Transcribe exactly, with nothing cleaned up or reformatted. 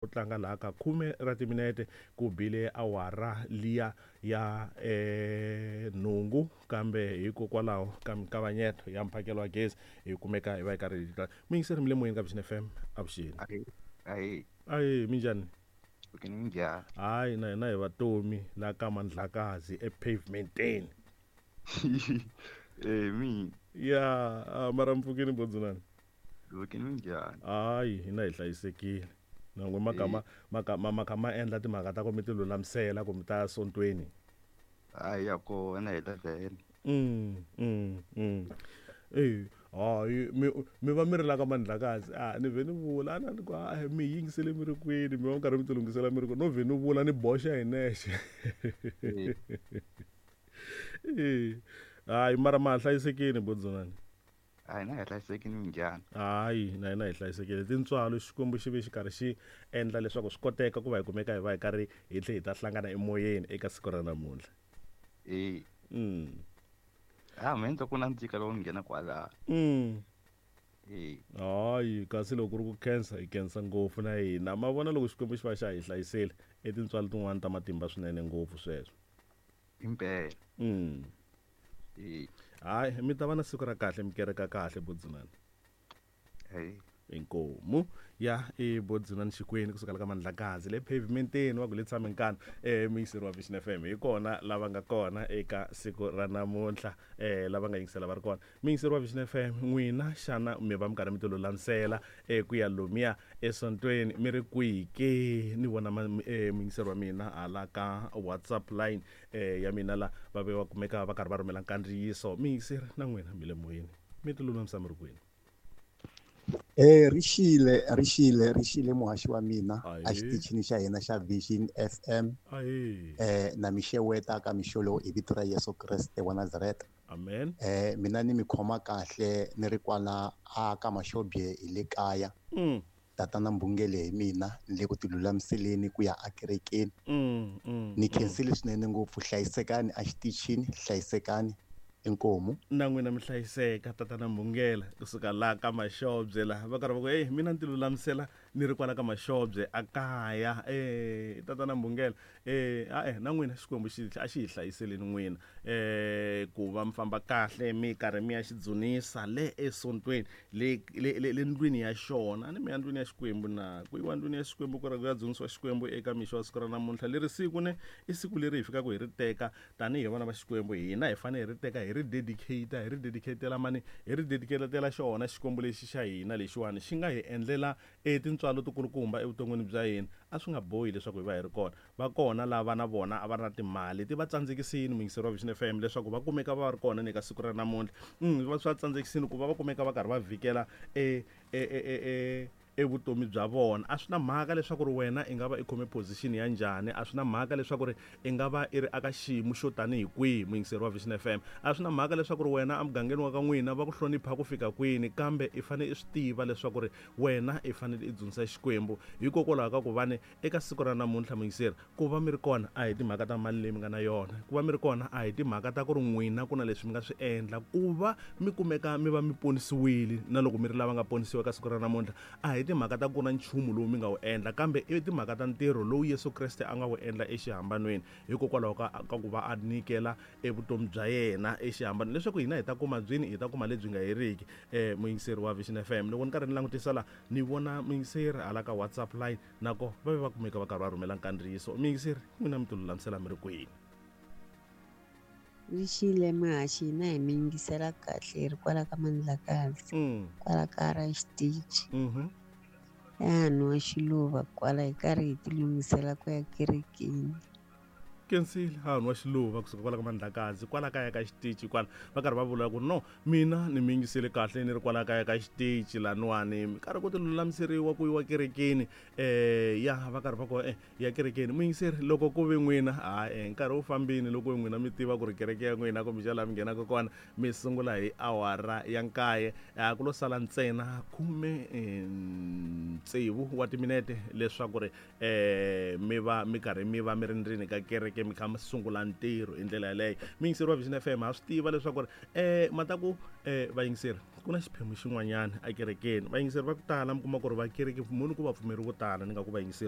tlanga laha ka khume ra timinete ku bile awara liya ya eh nhungu, kambe hikokwalaho ka mikavanyeto ya mphakelo wa gezi hi kumeka hi va hi karhi hi muyingiseri mi le moyeni ka Vision F M. Avuxeni. Ahe, ahe. Ahe, minjhani? Minjhani? Hayi, na hina hi vatomi la ka Mandlakazi epavementeni. Eh, mi. Ya, mara mpfukeni bodzunani. Mpfukeni minjhani? Hayi, hina hi hlayisekile. Nangwe makama makama makama endla timhaka ta ku mi ti lulamisela ku mi ta sontweni. Hayi, ya kona hi ta vhele. Mm, mm, mm. Eh, hayi, mi mi va mi ri la ka Mandlakazi. Ah, ni vhe ni vula, a ni ku a mi yingisele mi ri kwini, mi va mi karhi mi ti lunghisela mi ri kwini. No vhe ni vula ni boxa hi nexe. Eh, hayi, mara ma hlayisekile bodzunani. Hayi, na hi hlayisekile minjhani? Hayi, na hina hi hlayisekile. Tintswalo Xikwembu xi ve xi karhi xi endla leswaku swi koteka ku va hi kumeka hi va hi karhi hi tlhe hi ta hlangana emoyeni eka siku ra namuntlha. Eh. Mm. Ah, mina ndzi ku nandzika loko ni nghena kwala. Mm. Eh. Hayi, kasi loko ku ri ku khensa, hi khensa ngopfu na hina. Ma vona loko Xikwembu xi va xa hi hlayisile, i tintswalo tin'wani ta matimba swinene ngopfu sweswo. Impela. Mm. Eh. Hayi, mi ta va na siku ra kahle, mi kereka kahle bodzunani. Hey. Inkomu ya i bodzunani Xikweni kusuka la ka Mandlakazi le pavementeni wa ku le tshame nkana eh muyingiseri wa Vision F M. Hi kona lava nga kona eka siku ra namuntlha, eh lava nga yingisela va ri kona. Muyingiseri wa Vision F M, n'wina xana mi va mi karhi mi ti lulamisela eh ku ya lomuya esontweni mi ri kwihi ke? Ni vona ma-, eh, muyingiseri wa mina hala ka WhatsApp line eh ya mina la va ve va kumeka va karhi va rhumela nkandziyiso. Muyingiseri na n'wina mi le moyeni, mi ti lulamisa mi ri kwini? Eh, rixile, rixile, rixile muhaxi wa mina Ahee. a xitichini xa hina xa Vision F M. Ahee. Eh, na mi xeweta ka mixo lowu hi vito ra Yesu Kreste wa Nazareta. Amen. Eh, mina ni mi khoma kahle ni ri kwala a ka Mashobye hi le kaya. Mm. Tatana Mbungele hi mina ni le ku ti lulamiseleni ku ya ekerekeni. Mm, mm, Ni mm. khensile swinene ngopfu, hlayisekani a xitichini, hlayisekani. Inkomu. Na n'wina mi hlayiseka tatana Mbungela kusuka la ka Mashobye la va karhi va ku hey, mina ni ti lulamisela ni ri kwala ka Mashobye a kaya. Eh, tatana Mbungela, eh, a eh, na n'wina Xikwembu xi a xi hi hlayiseleni n'wina, eh, ku va mi famba kahle mi karhi mi ya xi dzunisa le esontweni, le, le, le, le ndlwini ya xona. A ni mi ya ndlwini ya Xikwembu na ku yiwa ndlwini ya Xikwembu ku ri ku ya dzunisiwa Xikwembu eka mixo wa siku ra namuntlha. Leri siku ne i siku leri hi fikaka hi ri teka tanihi vana va Xikwembu, hina hi fanele hi ri teka hi ri dedicate, hi ri dedicatela mani, hi ri dedicatela xona Xikwembu lexi xa hina lexiwani xi nga hi endlela e tintswalo tikulukumba evuton'wini bya hina. A swi nga bohi leswaku hi va hi ri kona. Va kona lava na vona a va ri na timali ti va tsandzekisini muyingiseri wa Vision F M leswaku va kumeka va ri kona ni ka siku ra namuntlha. Mm, va swi va tsandzekisini ku va va kumeka va karhi va vhikela e, e, e, e, e, evutomi bya vona. A swi na mhaka leswaku ri wena i nga va i khome position ya njhani, a swi na mhaka leswaku ri i nga va i ri aka xiyimo xo tanihi kwihi muyingiseri wa Vision F M. A swi na mhaka leswaku ri wena emugangeni wa ka n'wina va ku hlonipha ku fika kwini, kambe i fanele i swi tiva leswaku ri wena i fanele i dzunisa Xikwembu. Hikokwalaho ka ku va ni eka siku ra namuntlha muyingiseri, ku va mi ri kona a hi timhaka ta mali leyi mi nga na yona, ku va mi ri kona a hi timhaka ta ku ri n'wina ku na leswi mi nga swi endla, ku va mi kumeka mi va mi ponisiwile na loko mi ri lava nga ponisiwa eka siku ra namuntlha a hi timhaka ta ku na nchumu lowu mi nga wu endla, kambe i timhaka ta ntirho lowu Yesu Kreste a nga wu endla exihambanweni hikokwalaho ka, ka ku va a nyikela evutomi bya yena exihambanweni leswaku hina hi ta kuma byini, hi ta kuma lebyi nga heriki. Eh, muyingiseri wa Vision F M, loko ni karhi ni langutisa la ni vona muyingiseri hala ka WhatsApp line nako va ve va kumeka va karhi va rhumela nkandziyiso. Muyingiseri, n'wina mi ti lulamisela mi ri kwini? Rixile muhaxi, hina hi mi yingisela kahle hi ri kwala ka Mandlakazi, Mm. kwala ka ra xitichi. Mm-hmm. Ya nwa xiluva kwala hi karhi hi ti lunghisela ku ya kerekeni. Kensile ha nwa xiluva kusuka kwala ka Mandlakazi kwala kaya ka xitichi kwala va karhi va vula ku no mina ni mi yingisele kahle ni ri kwala kaya ka xitichi laniwani mi karhi ku ti lulamiseriwa ku yiwa kerekeni. Eh, ya va karhi va ku, eh, ya kerekeni. Muyingiseri, loko ku ve n'wina, ha, eh, nkarhi wu fambini loko n'wina mi tiva ku ri kereke ya n'wina kumbe xa laha mi nghenaka kona mi sungula hi awara ya nkaye, a ku lo sala ntsena khume, eh, tsevu wa timinete leswaku ri, eh, mi va mi karhi mi va mi ri ndzeni ka kereke mi kha mi sungula ntirho hi ndlela yaleyo. Muyingiseri wa Vision F M, ha swi tiva leswaku ri, eh, mata ku, eh, vayingiseri ku na xiphemu xin'wanyana ekerekeni. Vayingiseri va ku tala mi kuma ku ri va kereke munhu ku va pfumeri vo tala, ni nga ku vayingiseri vo